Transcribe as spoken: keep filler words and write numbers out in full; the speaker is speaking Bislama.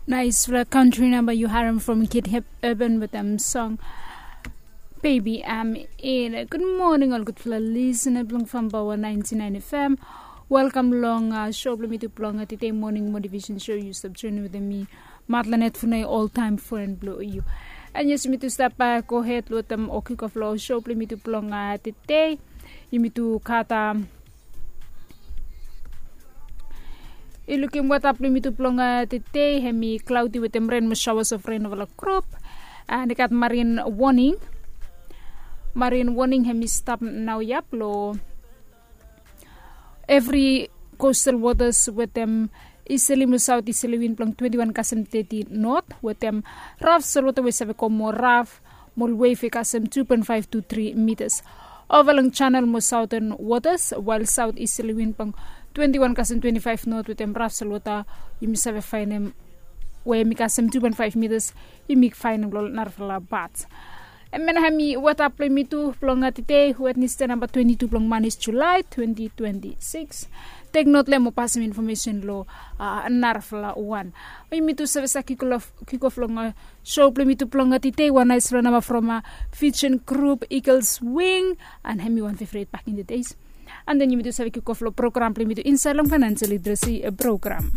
Naisfala country namba yu harim from Kid Hip Urban wetem song Baby I'm In. Gud moning ol gudfala lisina blong Fambawa nainti nain F M. Welkam long sho blong mitu blong tede moning motivation sho. Yu stap joining wetem mi, Matlanet Funai, oltaim fren blong yu. And yes, yumitu stap gohed wetem o kikof long sho blong mitu blong tede. Yumitu gat i lukim weta blong mitu blong tede, hemi klaudi wetem ren mo shawas of ren ova long grup. And i gat marin woning. Marin woning hemi stap naoia blong evri coastal waters wetem easterly mo south easterly wind blong twenty one kasem thirty north wetem raf solwota we save go mo raf mo ol wave i kasem two point five to three meters. Ova long channel mo southern waters, while south easterly wind blong twenty one kasem twenty five north wetem raf solwota, yumi save fainem we hemi kasem two point five meters, yumi fainem long narafala pat. Hemia nao hemi weta blong mitu blong tede, Wednesday namba twenty two blong manis July twenty twenty six. Tek not long hem mo pasem infomesen long narafala wan. Yumitu save sa kikof long sho blong mitu blong tede, wan naisfala namba from Fijian grup Eagles Wing. And hemi wan fevret back in the days. And then yumitu save kikof long program blong mitu insaed long financial literacy program.